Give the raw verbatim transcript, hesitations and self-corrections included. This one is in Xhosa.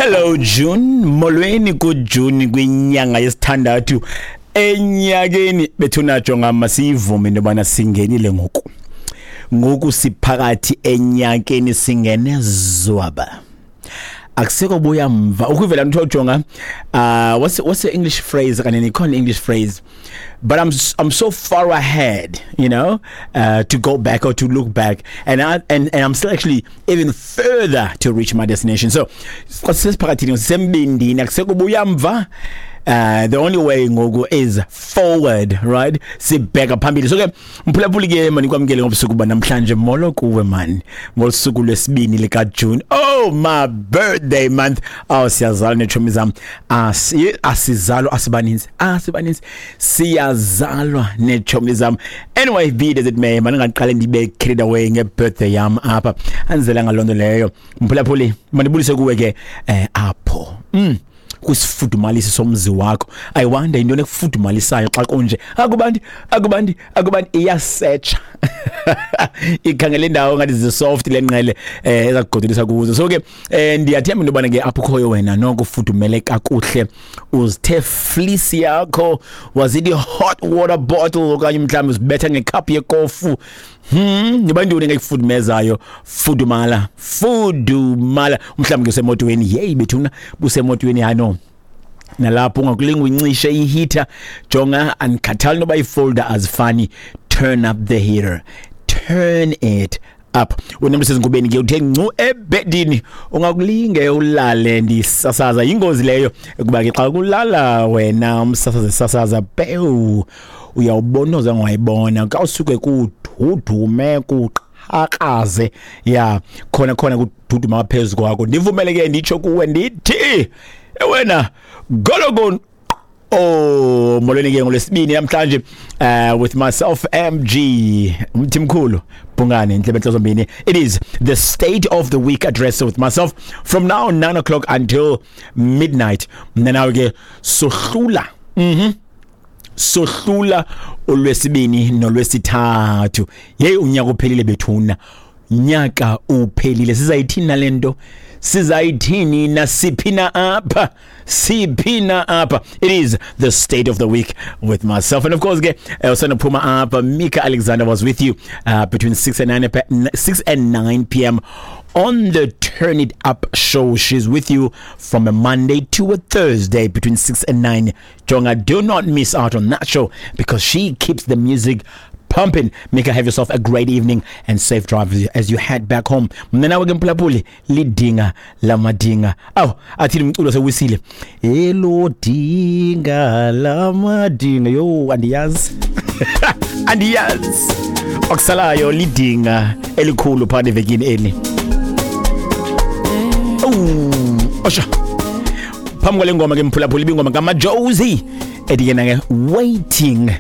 Hello June, molweni ku June kwinyanga yesithandathu enyakeni. Bethuna, jonga, masiyivume into yobana singenile ngoku. Ngoku siphakathi enyakeni, singene zwaba. Akuseko buya mva. Ukuvela mtho, jonga, uh what's what's the English phrase kanene? Ikhona English phrase, but I'm I'm so far ahead, you know, uh to go back or to look back, and I and, and I'm still actually even further to reach my destination. So sesiphakathini, sisembindini, akuseko buya mva. Uh, the only way ngoku is forward, right? Sibheka phambili. So ke mphulaphuli ke, manikwamkele ngobusuku banamhlanje. Molo kuwe man, ngosuku lwesibini lika June. Oh, my birthday month. Oh, siyazalwa nechomi zam. Asi asizalwa asibaninzi, asibaninzi, siyazalwa nechomi zam. Anyway, be it as it may, maningaqale ndibe carried away ngebirthday yam apha. Anzela ngaloo leyo. Mphulaphuli, mandibulise kuwe ke eh apho mm kwisifudumalisi somzi wakho. I wonder into ekufudumalisayo xa kunje. Akubandi, akubandi, akubandi. Iyasetsha, ikhangela indawo ngathi zisoft lenqele eh ezakugodolisa kuzo. So ke eh ndiyathemba into yobana ke apho ukhoyo wena noko ufudumele kakuhle, uzithe fleece yakho, wazithi hot water bottle, okanye mhlawumbi uzibetha ngecup yekofu. Hmm, niba ntoni ngekufudumezayo? Fudumala, fudumala. Mhlawumbi ke usemotweni. Yeyi bethuna, busemotweni, hayi no. Nalapho ungakulinga uyincishe iheater. Jonga, andikhathali noba ifolder azifani. Turn up the heater. Turn it up. Wena msezingubeni ke, uthe ncu ebedini, ungakulinge ulale ndisasaza, yingozi leyo, kuba ke xa kulala wena umsasaze sasaza pewu, uyawubona ozangayibona xa usuke kududume, kuqhakaze ya khona khona kududuma phezu kwakho. Ndivumele ke nditsho kuwe ndithi wena gologon. Oh, molweni ke ngolwesibini namhlanje uh with myself, M G Mthimkhulu Bhungane Ndlebe Nhlozombini. It is the State of the Week Address with myself from now nine o'clock until midnight. Mna nawe ke sohlula, mhm sohlula olwesibini nolwesithathu. Hey, unyaka uphelile bethuna, nyaka uphelile. Sizayithini nalento? Sizayithini nasiphina apha? Siphina apha? It is the State of the Week with myself, and of course ke uh, usanophuma apha, Mika Alexander was with you uh, between six and nine six and nine p m on the Turn It Up show. She's with you from a Monday to a Thursday between six and nine. Jonga, do not miss out on that show because she keeps the music pumping. Mika, have yourself a great evening and safe drive as you head back home. Mna nawe ke mphulaphuli, lidinga lamadinga. Aw, athini umculo sewisile? Elo dinga lamadinga. Yo, andiyazi. Andiyazi. Okusalayo lidinga elikhulu phakathi evekini eli. Oh, osha. Phambi kwale ngoma ke mphulaphuli, ibingoma kaMajozi ethi yena ke "Waiting".